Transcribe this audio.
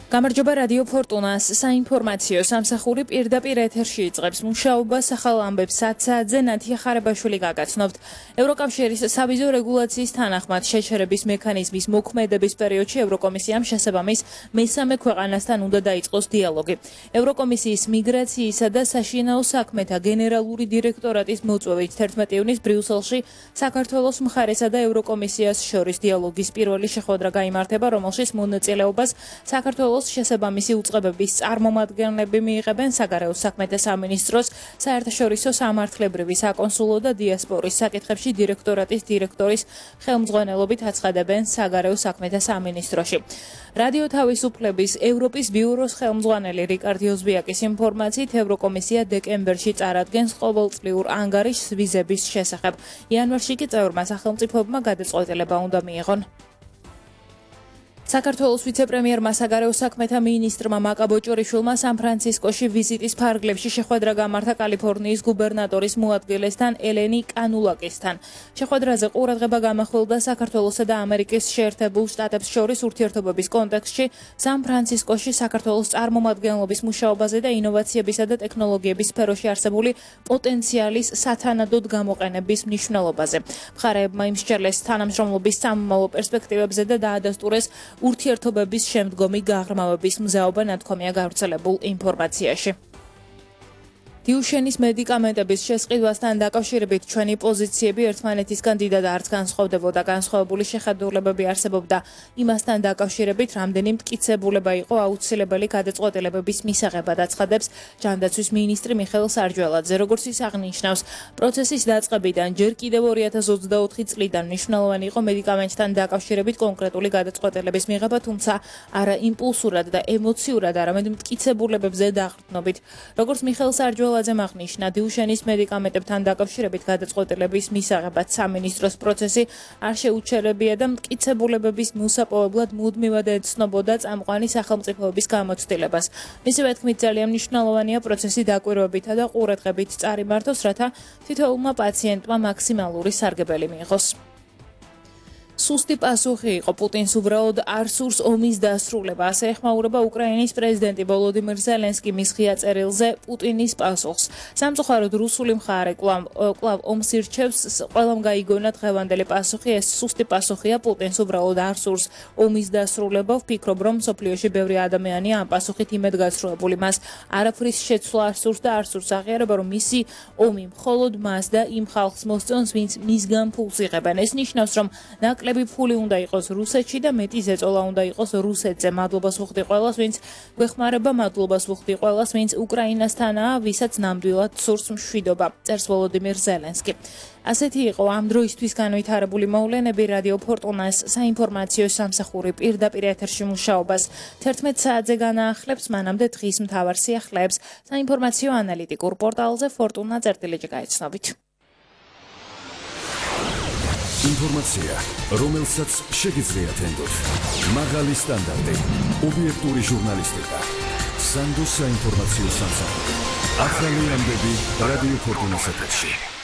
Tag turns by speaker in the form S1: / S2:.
S1: გამარჯობა რადიო ფორტუნას საინფორმაციო სამსახური პირდაპირ ეთერში იწყებს მუშაობას ახალ ამბებს 10 საათზე ნათია ხარებაშვილი გაგაცნობთ. ევროკავშირის სავიზო რეგულაციის თანახმად შეჩერების მექანიზმის მოქმედების პერიოდში ევროკომისიამ შესაბამის მესამე ქვეყანასთან უნდა დაიწყოს დიალოგი. ევროკომისიის მიგრაციისა და საშინაო საქმეთა გენერალური დირექტორატის მოწვევით 11 ივნის ბრიუსელში საქართველოს მხარესა და ევროკომისიას შორის დიალოგის პირველი შეხვედრა გაიმართება, რომელშიც მონაწილეობას საქართველოს შესაბამისი უწყებების წარმომადგენლები მიიღებენ საგარეო საქმეთა სამინისტროს საერთაშორისო სამართლებრივი საკონსულო და დიასპორის საკითხებში დირექტორატის დირექტორის ხელმძღვანელობით აცხადებენ საგარეო საქმეთა სამინისტროში. რადიო თავისუფლების ევროპის ბიუროს ხელმძღვანელი რიკარდ ოზბიაკის ინფორმაციით ევროკომისია დეკემბერში წარადგენს ყოველწლიურ ანგარიშს ვიზების შესახებ. იანვარში კი წევრმა სახელმწიფოებმა გადაწყვეტილება უნდა მიიღონ. საქართველოს ვიცე-პრემიერმა საგარეო საქმეთა მინისტრმა მაკა ბოჭორიშვილმა სან-ფრანცისკოში ვიზიტის ფარგლებში შეხვედრა გამართა კალიფორნიის გუბერნატორის მოადგილესთან ელენი კანულაკისთან. შეხვედრაზე ყურადღება გამახვილდა საქართველოსა და ამერიკის შეერთებულ შტატებს შორის ურთიერთობების კონტექსტში, სან-ფრანცისკოში საქართველოს წარმომადგენლობის მუშაობაზე და ინოვაციებისა და ტექნოლოგიების სფეროში არსებული პოტენციალის სათანადოდ გამოყენების მნიშვნელობაზე. მხარეებმა იმსჯელეს თანამშრომლობის სამომავლო პერსპექტივებზე და დაადასტურეს ურთიერთობების შემდგომი გაღრმავების მზაობა ნათქვამია გავრცელებულ ინფორმაციაში. დიუშენის მედიკამენტების შესყიდვასთან დაკავშირებით ჩვენი პოზიციები ერთმანეთისგან დიდად არც განსხვავდებოდა, განსხვავებული შეხედულებები არსებობდა იმასთან დაკავშირებით, რამდენი მტკიცებულება იყო აუცილებელი გადაწყვეტილებების მისაღებად, აცხადებს ჯანდაცვის მინისტრი მიხეილ სარჯველაძე. როგორც ის აღნიშნავს, პროცესის დაწყებიდან ჯერ კიდევ 2024 წლიდან მნიშვნელოვანი იყო მედიკამენტთან დაკავშირებით კონკრეტული გადაწყვეტილების მიღება, თუმცა არა იმპულსურად და ემოციურად, არამედ მტკიცებულებებზე დაყრდნობით. როგორც მიხეილ სარჯველაძე აღნიშნა, დიუშენის მედიკამენტებთან დაკავშირებით გადაწყვეტილების მისაღებად სამინისტროს პროცესი არ შეუჩერებია და მტკიცებულებების მოსაპოვებლად მუდმივად ეცნობოდა წამყვანი სახელმწიფოების გამოცდილებას. მისივე თქმით, ძალიან მნიშვნელოვანია პროცესი დაკვირვებითა და ყურადღებით წარიმართოს, რათა თითოეულმა პაციენტმა მაქსიმალური სარგებელი მიიღოს. სუსტი პასუხი იყო პუტინს უბრალოდ არ სურს ომის დასრულება, ასე ეხმაურება უკრაინის პრეზიდენტი ვოლოდიმირ ზელენსკი მის ღია წერილზე პუტინის პასუხს. სამწუხაროდ რუსული მხარე კვლავ ომს ირჩევს, ყველამ გაიგონა დღევანდელი პასუხი, ეს სუსტი პასუხია, პუტინს უბრალოდ არ სურს ომის დასრულება. ვფიქრობ, რომ მსოფლიოში ბევრი ადამიანია ამ პასუხით იმედგაცრუებული, მას არაფრის შეცვლა არ სურს და არ სურს აღიარება, რომ მისი ომი მხოლოდ მას და იმ ხალხს მოსწონს, ვინც მისგან ფულს იღებენ. ეს ნიშნავს, რომ ნაკლები ფული უნდა იყოს რუსეთში და მეტი ზეწოლა უნდა იყოს რუსეთზე. მადლობას ვუხდი ყველას, ვინც გვეხმარება, მადლობას ვუხდი ყველას, ვინც უკრაინასთანაა, ვისაც ნამდვილად სურს მშვიდობა, წერს ვოლოდიმირ ზელენსკი. ასეთი იყო ამ დროისთვის განვითარებული მოვლენები. რადიო ფორტუნას საინფორმაციო სამსახური პირდაპირ ეთერში მუშაობას 11 საათზე განაახლებს, მანამდე დღის მთავარ სიახლეებს საინფორმაციო ანალიტიკურ პორტალზე fortuna.gr გაიცნობით.
S2: ინფორმაცია, რომელსაც შეგიძლიათ ენდოთ. მაღალი სტანდარტი, ობიექტური ჟურნალისტიკა. სანდოს საინფორმაციო სამსახური. ახალი ამბები რადიო ფორტუნას ეთერში.